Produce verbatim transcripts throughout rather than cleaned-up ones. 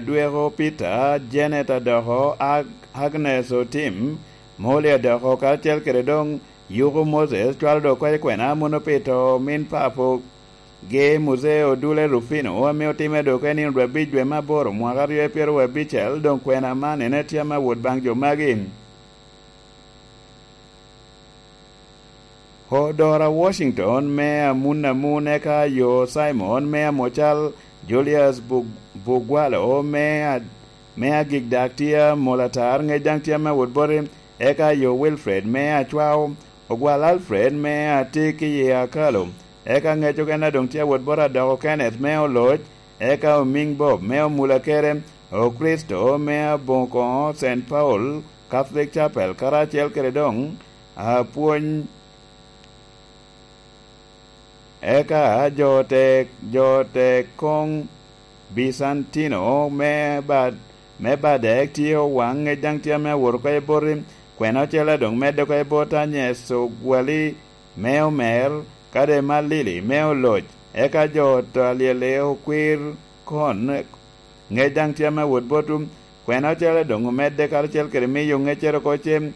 Dweko Peter, Janet adoko, Ag- Agnes Otim, Molly adoko, karacel kede doŋ Yuku Moses, cwalo doŋ oko i kwena amuno pi to min papo ge Muzee Odule Rufino, ame otimme doŋ oko i nino dwe abic dwe me aboro mwaka aryo pyeraryo abicel, doŋ kwena man en etye ame awot baŋ jo magi. Odora Washington me amun amun, eka yo Simon me amocal, Julius Bu- Bugwalo me a- me agik dak tye amol atar, ŋec daŋ tye ame awot boti, eka yo Wilfred me acwao, ogwal Alfred me atik i akalo, eka ŋec okene doŋ tye awot boti adoko Kenneth me oloc, eka omiŋ Bob me omula kere, Okristo me aboŋo koŋo Saint Paul Catholic Chapel, karacel kede doŋ apwony. Eka jo te jo te koŋ Bicantino me bad me badek tye owaŋ, ŋec daŋ tye ame awot oko i boti, kwena ocele doŋ medde oko i bot Anyes ogwali me omer, kade Malili me oloc. Eka jo to alyel okwir kon, ŋec daŋ tye ame awot botwu, kwena ocele doŋ omedde karacel kede miyo ŋeccere oko cem.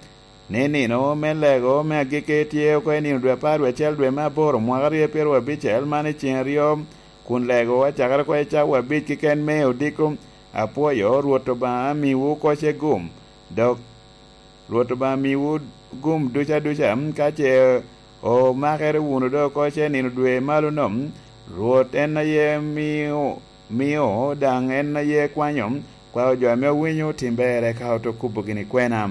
Ni nino me lego me agikki tye oko i nino dwe apar dwe acel dwe me aboro mwaka aryo pyeraryo abicel man i ceŋ aryo, kun lego acakere oko i cawa abic keken me odiko. Apwoyo Rwot Obaŋa miwu oko ce gum, dok Rwot Obaŋa miwu gum duca duca, ka ce omakere wunu doŋ oko ce nino dwe malo nom. Rwot en aye mio, mio, daŋ en aye kwanyo, kwao jo ame owinyo tim berre ka oto kubo gini kwena.